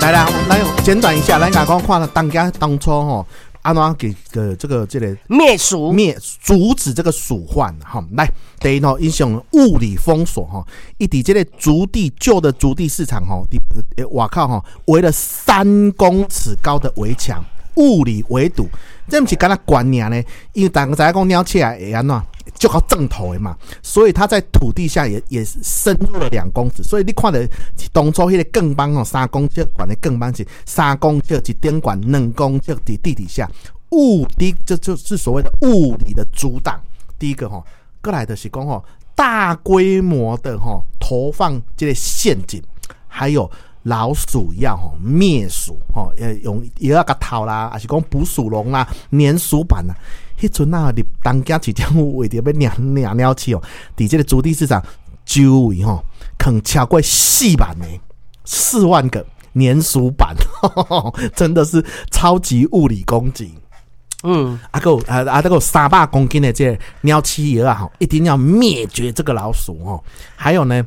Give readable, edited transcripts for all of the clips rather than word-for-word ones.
來啦，來簡短一下，咱共講看當家當初吼，按怎給個這個滅鼠滅阻止這個鼠患哈。來，第一吼，𪜶是用物理封鎖吼，伊佇這個築地舊的築地市場吼，佇外口吼圍了3公尺高的圍牆，物理圍堵，這毋是干焦懸爾呢？因為大家知影講鳥鼠會按怎？就靠正頭的嘛，所以它在土地下也深入了2公尺，所以你看著當初彼個棍棒吼，三公尺懸的棍棒是三公尺一頂懸，2公尺佇地底下，物理這就是所謂的物理的阻擋。第一個吼，閣來就是講吼，大規模的吼投放這個陷阱，還有老鼠藥吼滅鼠吼，用藥仔共投啦，抑是講捕鼠籠啦、粘鼠板啦。彼陣啊，佇東京市政府為著欲掠掠鳥鼠哦，佇這個築地市場周圍吼，囥超過4萬個、4萬個粘鼠板，真的是超級物理攻擊。啊，閣有啊啊，閣有300公斤的這個鳥鼠藥啊，吼，一定要滅絕這個老鼠哦。還有呢，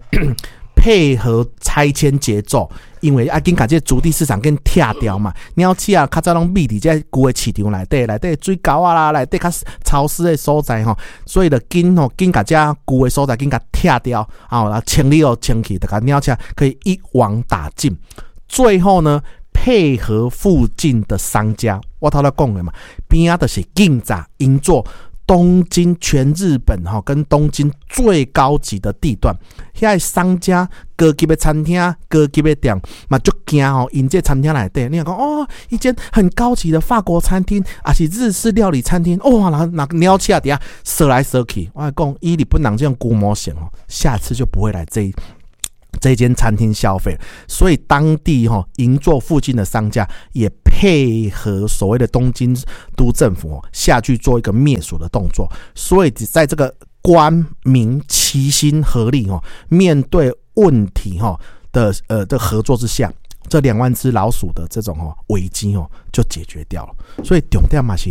配合拆遷節奏，因為愛緊共這個築地市場緊拆掉嘛，鳥鼠啊，較早攏覕佇這舊的市場內底，內底水溝仔啦，內底較潮濕的所在吼，所以就緊吼緊共這舊的所在緊共拆掉，啊，然後清理好清去，就共鳥鼠可以一網打盡。最後呢，配合附近的商家，我頭拄講的嘛，邊仔就是銀座，銀座東京全日本吼跟東京最高級的地段，遐商家高級的餐廳、高級的店嘛，足驚吼，𪜶這餐廳內底，你若講哦，一間很高級的法國餐廳，抑是日式料理餐廳，哇，那鳥鼠佇遐踅來踅去，我講以日本人這種龜毛性哦，下次就不會來這間餐廳消費，所以當地吼銀座附近的商家也配合所謂的東京都政府下去做一個滅鼠的動作，所以在這個官民齊心合力哦，面對問題哈的合作之下，這2萬隻老鼠的這種哦危機哦就解決掉了。所以重點嘛是，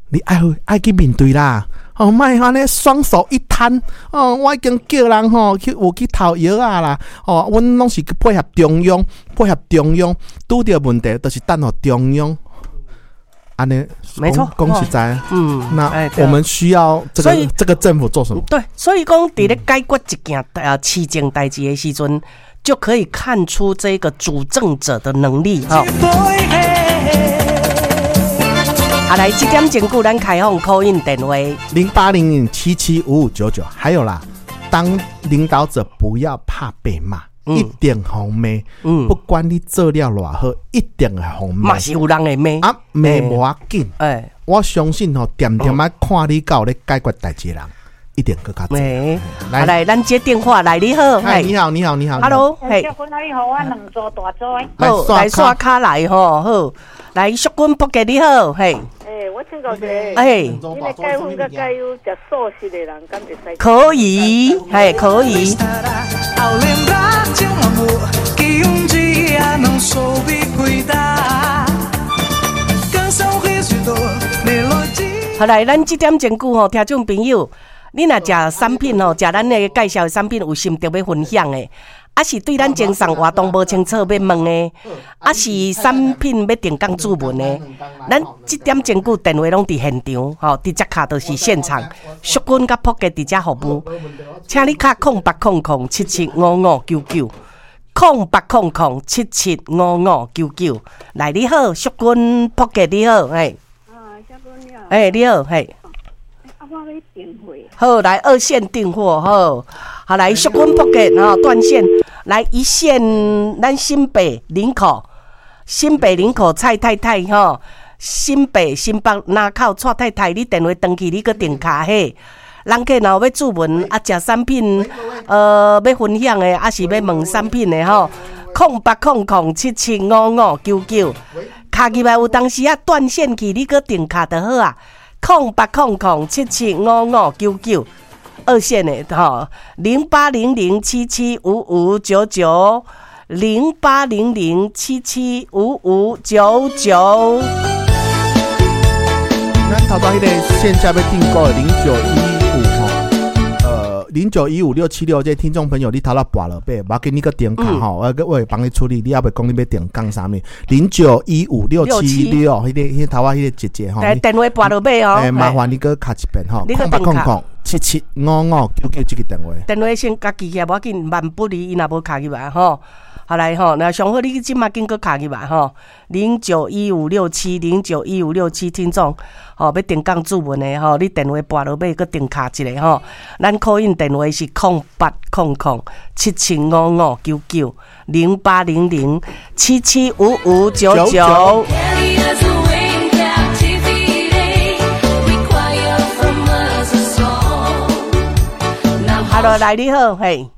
你愛愛去面對啦。哦，莫按呢雙手一攤哦，我已經叫人吼去有去投藥仔啦。哦，阮攏是配合中央，配合中央，拄著問題就是等予中央。按呢，沒錯，講實在，那我們需要這個政府做什麼？對，所以講佇咧解決一件市政代誌的時陣，就可以看出這個主政者的能力哈。啊，來，這點鐘久，咱開放 call in 電話0800775599。還有啦，當領導者不要怕被罵，一定予罵。不管你做了偌好，一定會予罵。嘛是有人會罵啊，罵無要緊。我相信吼，恬恬仔看你敢有咧解決代誌的人，一定閣較濟。來來，咱接電話來，你好，你好，你好，你好，Hello，嘿，淑君你好，我兩組大組好，來刷卡來吼，好，來淑君福杰你好，嘿。欸，我請教一下，你咧解粉佮解憂食素食的人，敢會使？可以，嘿，可以。 Ao lembrar de um amor que um dia não soube cuidar. Canção, riso e dor, melodia. 好來，咱這點鐘久吼，聽眾朋友，你若食產品吼，食咱的介紹的產品有心得欲分享的，抑是對咱贈送活動無清楚欲問的，抑是產品欲定工注文的，咱這點鐘久電話攏佇現場，吼，直接敲就是現場，淑君佮朴杰佇遮服務，請你敲0800775599，0800775599。來，你好，淑君朴杰你好，嘿。啊，淑君你好。欸，你好，嘿。啊，我欲訂貨。好，來二線訂貨，好，好來，淑君朴杰吼斷線，來一線，咱新北林口，新北林口蔡太太吼，新北新北林口蔡太太，你電話轉去，你閣訂卡嘿。人客若有欲注文啊，食產品，欲分享的，抑是欲問產品的吼，0800775599，敲入來有當時啊斷線去，你閣訂卡就好啊。0800775599，二線的吼，0800775599，0800775599。咱頭拄彼個線下欲訂購的0915吼， 0915676這聽眾朋友，你頭仔撥落尾，無要緊，你閣重敲吼，我會幫你處理。你猶未講你欲訂購啥物？0915676，彼個頭仔彼個姐姐吼，電話撥落尾哦。欸，麻煩你閣敲一遍吼，0800775599這個電話。電話先共記起來，無要緊，萬不離伊若無敲入來吼。好來吼，那上好你這馬緊閣敲入來吼，零九一五六七零九一五六七，聽眾吼欲訂購主文的吼，你電話撥落尾閣重敲一下吼。咱 call in 電話是08007755990800775599。 Carry us away in captivity. Require from us a song. Now Hello，來你好，嘿。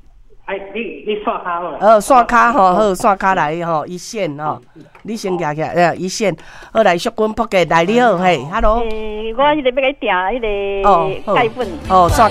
哎，你線跤好啦。線跤吼，好，線跤來吼，一線吼，你先舉起來，一線，好來，淑君撲嘅來你好，嘿，Hello。欸，我彼個欲共你訂彼個鈣粉。哦，線跤。